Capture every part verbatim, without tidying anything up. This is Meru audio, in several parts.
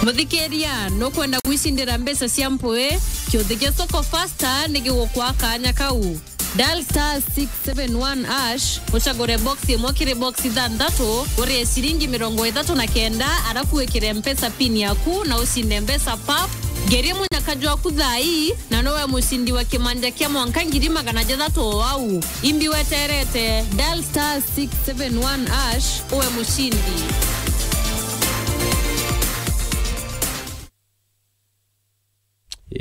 Muthikiria, nukwenda gwicindira mbeca cia mpui? Kiuthi gia Soko Fasta ni gigukwa kanya kau. Dial star six seven one hash, ucagure box imwe kiri box ithanthatu, urie ciringi mirongo ithatu na kenda, arafu wikire mpesa pin yaku na ucinde mbeca pap. Ngerie munyaka jwaku thaa ii, na nowe mucindi wa kimanja kia mwanka ngiri magana jathatu o au. Imbi weterete, dial star six seven one hash, uwe mucindi.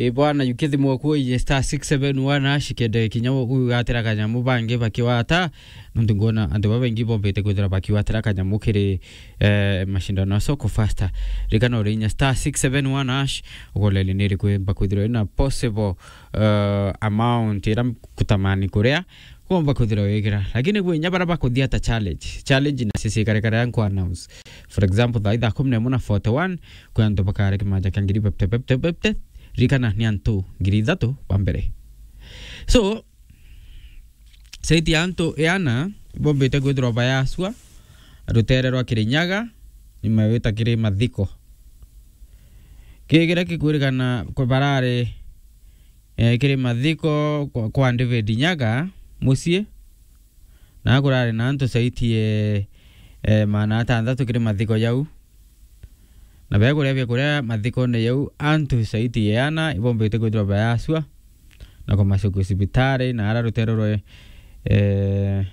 Ii bwana, yukia thimu yaku uiye star six seven one hash kende kinya ugatira kanyamu bangi bakiwata. Nontu ngona antu babaingi bombite kwithira bakiwatira kanyamu kiri, eh, mashindano ya Soko Fasta. Ririkana uri inya star six seven one hash, ugolele ni iriku imba kwithirwa ina possible, eh, amount ira kutamani kuria. Kuomba kwithirwa wikira. Lakini kwi inya bara bakuthia ta challenge. Challenge na sisi kare kare anku announce. For example, thaa ithaa kumi na imwe na forty-one, kwi antu bakare kimanja kia ngiri bepte, bepte, bepte. Ririkana ni antu ngiri ithatu ba mbere. So, saiti ya antu iana bombite kwithirwa bayasua rutere rwa Kirinyaga, ni mawita kiri mathiko. Kii kiria kikwirikana kwa barari, eh, kiri mathiko kwa, kwa David Nyaga mucii, na kurari na antu saiti e, eh, maana atanthatu kiri mathiko jau. Na bekuria biakuria mathikone jau, antu saiti e ana ibombite kwithirwa bayasua na kumacokia cibitari na ara rutere rwe, eh,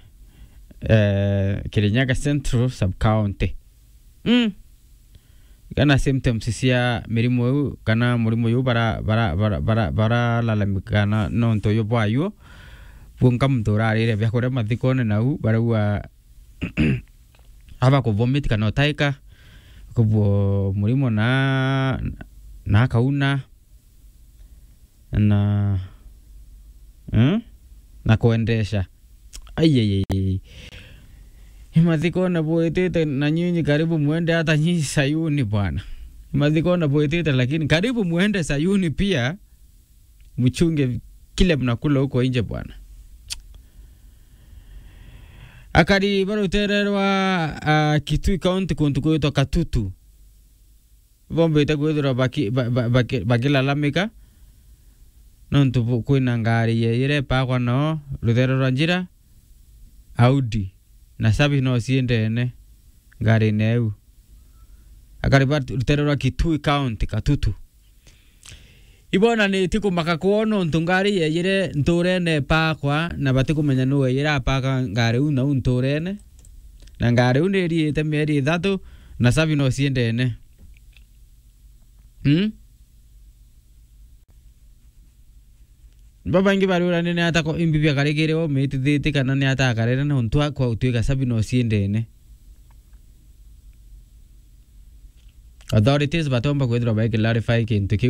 eh, Kirinyaga Central Sub County. Mm. Kana symptoms cia mirimu iu, kana murimu iu bara, bara, bara, bara, baralalamika na nontu uyu bwayu. Bunka muntu urarire biakuria mathikone nau, barauga aba kuvomit kana utaika, kubwo murimu na, na akauna. Na, eh? Na kuendesha. Ai, ai, ai, ai. Imathikone bwitite na nyinyi karibu mwende hata nyinyi Sayuni bwana. Imathikone bwitite lakini karibu mwende Sayuni pia, mchunge kile mnakula huko nje bwana. Akari ba rutere rwa, ah, Kitui County kuntu kwitwa Katutu. Bombite kwithirwa baki-, ba-, ba-, baki-, bakilalamika nontu bu-, kwina ngari ye-, iria ipakwa noo rutere rwa njira, Audi, na cabi no ciendene ngarine iu. Akari ba rutere rwa Kitui County, Katutu. Ibonanitie kumaka kwoo nontu ngari yeyire nturene ipakwa, na batikumenya nuu weyire apaka ngari iu nau nturene. Na ngari iu niriite mieri ithatu, na cabi no ciendene. Hmm? Babaingi bariurania ni ata ko-, imbi biakarikire umitithitie kana ni ata akarere nontu akwa utuika cabi no ciendene. Authorities batomba kwithirwa bai clarify kintu kiu.